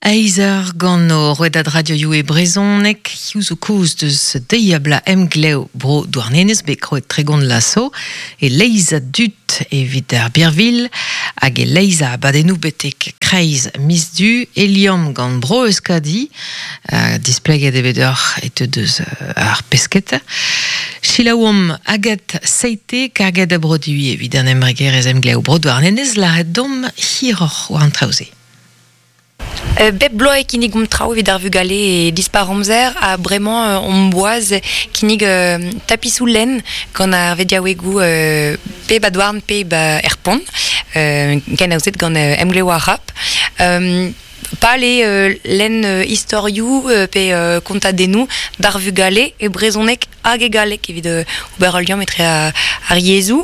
Eizh eur gant o rouedad radioioù e brezhoneg, hiziv zo kaoz deus deiz-ha-bloaz emglev Bro Douarnenez bet krouet 30 vloaz zo, e-leizh a dud evit ar birvilh hag e-leizh a abadennoù betek kreiz miz Du, e liamm gant Bro Euskadi, displeget eo bet deoc'h e teu deus ar pesketa. Selaouomp Agathe Seite, karget a broduiñ evit an embregerezh emglev Bro Douarnenez, lâret deomp hiroc'h war an traoù-se. Bep bloaz e kinnigomp traoù evit ar vugale e dispar amzer ha bremañ omp boaz kinnig tapisoù lenn gant ar vediaouegoù pe ba Douarn pe ba er Pont, kenaozet gant Emglev ar Rap. Pal eo lenn istorioù pe kontadennoù d'ar vugale e brezhoneg hag e galleg evit ober ul liamm etre ar yezhoù.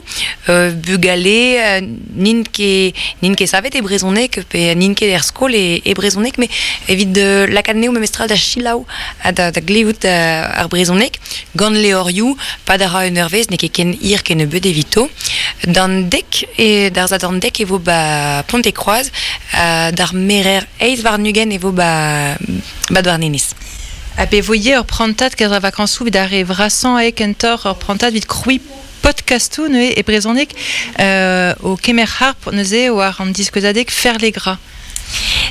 Bugale n'int ket n'int ket savet e brezhoneg pe n'int ket er skol e brezhoneg met evit lakaat anezho memestra da selaou ha da glevout ar brezhoneg gant levrioù pad a ra un eurvezh n'eo ket ken hir kennebeut evito. D'an dek e d'ar sadorn dek e vo ba Pont-e-Kroaz d'ar merer eizh warn-ugent e vo ba ba Douarnenez. Ha pe vo ivez ur prantad kerzh ar vakañsoù evit ar re vrasañ eo kentoc'h ur prantad evit krouiñ podkastoù neuze e brezhoneg o kemer harp neuze war an diskouezadeg Ferlegra.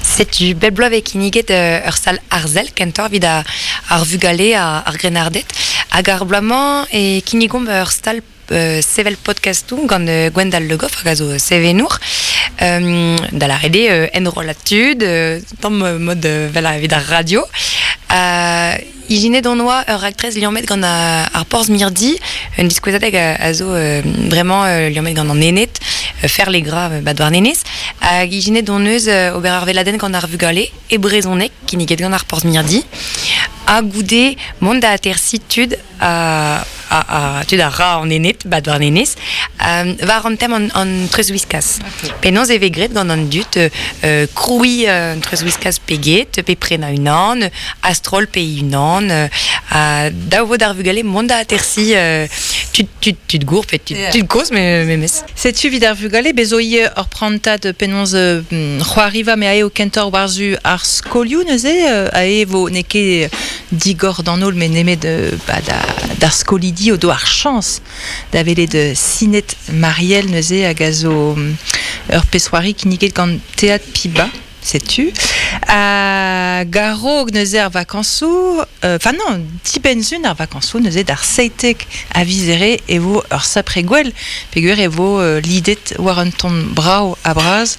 Setu bep bloaz vez kinniget ur sal arzel kentoc'h evit ar vugale ar grennarded hag ar bloaz-mañ e kinnigomp ur stal sevel podkastoù gant Gwendal Le Goff hag a zo sevenour da lâret eo enrollañ tud tamm mod vel evit ar radio. Ijinet hon oa ur raktres liammet gant ar porzh mirdi, un diskouezadeg a zo bremañ liammet gant an Ened, Ferlegra ba Douarnenez, hag ijinet hon eus ober ar weladenn gant ar vugale e brezhoneg kinniget gant ar porzh mirdi, ha goude mont da atersiñ tud a, a, tud a ra an ened, ba Douarnenez, war an tem an, an treuzwiskaz. Penaos e vez graet gant an dud krouiñ un treuzwiskaz pe get, pe prenañ unan, a-stroll pe unan, ha dav vo d'ar vugale mont da atersiñ tud, tud, tud gour pe tud, tud kozh memes. Setu evit ar vugale, bez zo ivez ur prantad penaos c'hoariva me aeo kentoc'h war-zu ar skolioù neuze, ae vo n'eo ket digor d'an holl met nemet ba, d'ar skolidi o do ar chañs da welet Sinet Marielle neuze hag a zo ur pezh-c'hoari kinniget gant Teatr Piba. Setu. Hag a-raok neuze ar vakañsoù, enfin non, dibenn-sun ar vakañsoù neuze d'ar 17 a viz Here e vo ur sapre gwell peogwir e vo lidet war un ton brav ha bras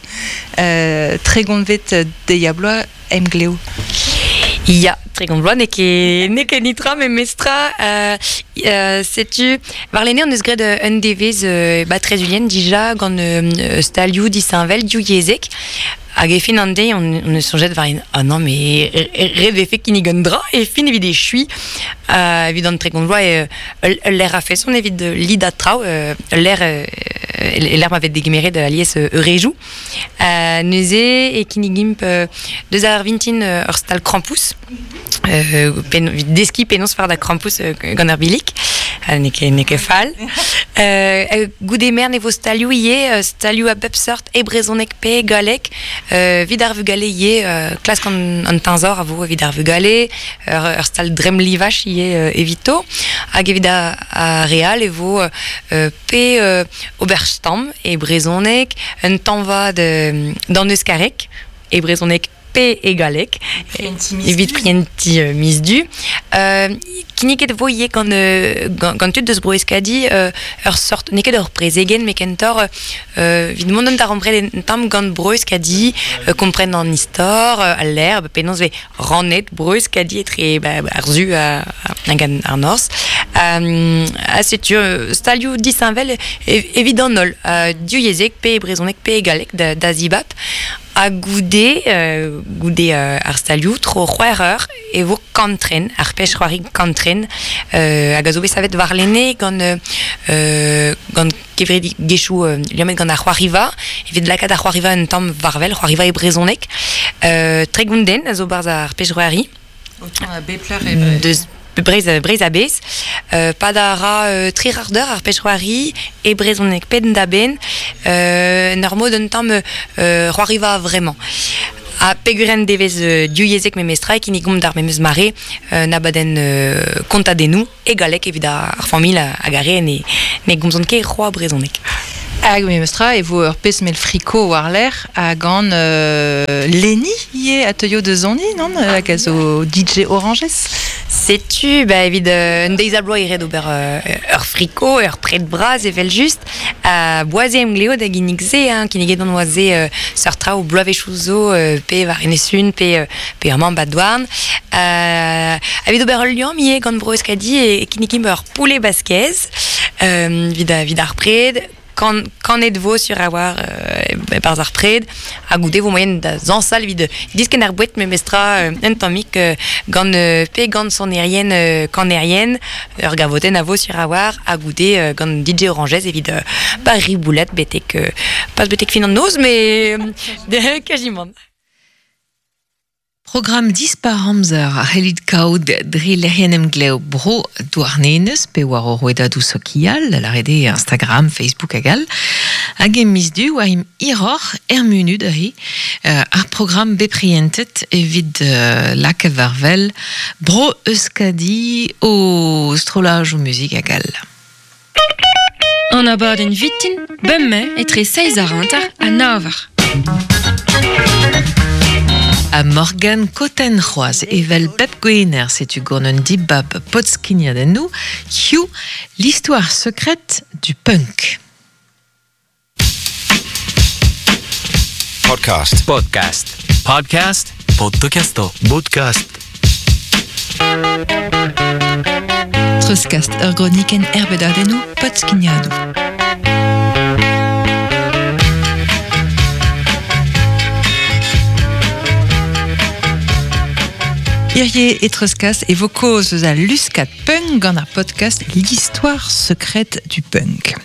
tregontvet deiz-ha-bloaz emglev. Ya, 30 vloaz n'eo ket n'eo ket netra memestra. Setu warlene hon eus graet un devezh ba Trezulien dija gant stalioù disheñvel divyezhek. Hag e fin an deiz on, on eus soñjet war ah non mais ret vefe kinnig un dra e fin evit echuiñ evit an 30 vloaz ul lec'h a-feson evit lidañ traoù ul lec'h e lec'h ma vez degemeret alies eurejoù. Neuze e kinnigimp deus ar vintin ur stal krampouezh evit deskiñ penaos fardañ krampouezh gant ar billig. N'eo ket, n'eo ket fall. Goude merenn e vo stalioù ivez, stalioù a bep seurt e brezhoneg pe e galleg. Evit ar vugale ivez, klask an, an teñzor a vo evit ar vugale, ur stal dremm-livaj ivez evito. Hag evit ar re all e vo pe ober stamm e brezhoneg, un tañva d'an euskareg e brezhoneg pe e galleg evit prientiñ miz Du. Kinniget e vo ivez gant, gant tud deus Bro-Euskadi ur sort, n'eo ket ur prezegenn met kentoc'h evit mont en darempred un tamm gant Bro-Euskadi, kompren an istor, al lec'h, penaos e vez rannet Bro-Euskadi etre ar su hag ar norzh. Ha setu stalioù disheñvel evit an holl, divyezhek pe e brezhoneg pe e galleg da zibab. Ha goude, goude ar stalioù, tro c'hwec'h eur, e vo kantren, ar pezh-c'hoari kantren, hag a zo bet savet warlene gant gant kevredigezhioù liammet gant ar c'hoariva, evit lakaat ar c'hoariva un tamm war-wel, c'hoariva e brezhoneg. 30 den a zo 'barzh ar pezh-c'hoari. Deus Breizh, Breizh a-bezh. Pad a ra tri c'hard eur ar pezh-c'hoari e brezhoneg penn-da-benn, en ur mod un tamm c'hoariva a-vremañ. Ha peguren devez diuyezek memestra e kinigomp d'ar memes mare un abadenn kontadennoù e galleg evit ar familh hag ar re ne, ne gomzont ket c'hoazh brezhoneg. Hag memestra e vo ur pezh mell friko war-lerc'h ha gant Leni ivez a teuio da soniñ, non? Hag a zo DJ Oranges. Setu, ba, evit un deiz a bloaz e ret ober ur friko, ur pred bras evel-just. Boaz eo emgleo da ginnig se, hein, kinniget on oa se seurt traoù bloavezhioù zo, pe war Enez-Sun, pe, pe amañ ba Douarn. Evit ober ul liamm ivez gant Bro-Euskadi e kinnigimp ur poulet basquez evit, evit ar pred. Kan, kanet vo sur a-walc'h e-barzh ar pred ha goude vo moaien da zañsal evit diskenn ar boued memestra un tammig gant pe gant sonerien kanerien ur gavotenn a vo sur a-walc'h ha goude gant DJ Oranges evit pa riboulat betek pas betek fin an noz mais quasiment. Programm dispar amzer a c'hellit kaout dre lec'hienn emglev Bro Douarnenez pe war ho rouedadoù sokial, da lâret eo Instagram, Facebook hag all. Hag e miz Du war im hiroc'h er munud aze ar programm bet prientet evit lakaat war wel Bro Euskadi o strollajoù muzik hag all. An abadenn vitin, bemdez etre seizh ha hanter ha nav eur. Ha Morgane Cotten c'hoazh, evel bep gwener, setu gant un dibab podskignadennoù, hiziv l'histoire secrète du punk. Podcast. Podcast. Podcast. Podcast. Podcast. Treuzkast ur gronikenn erbedadennoù podskignadoù. Hirie e treuzkas e vo kaoz eus al luskad punk gant ar podcast L'histoire secrète du punk.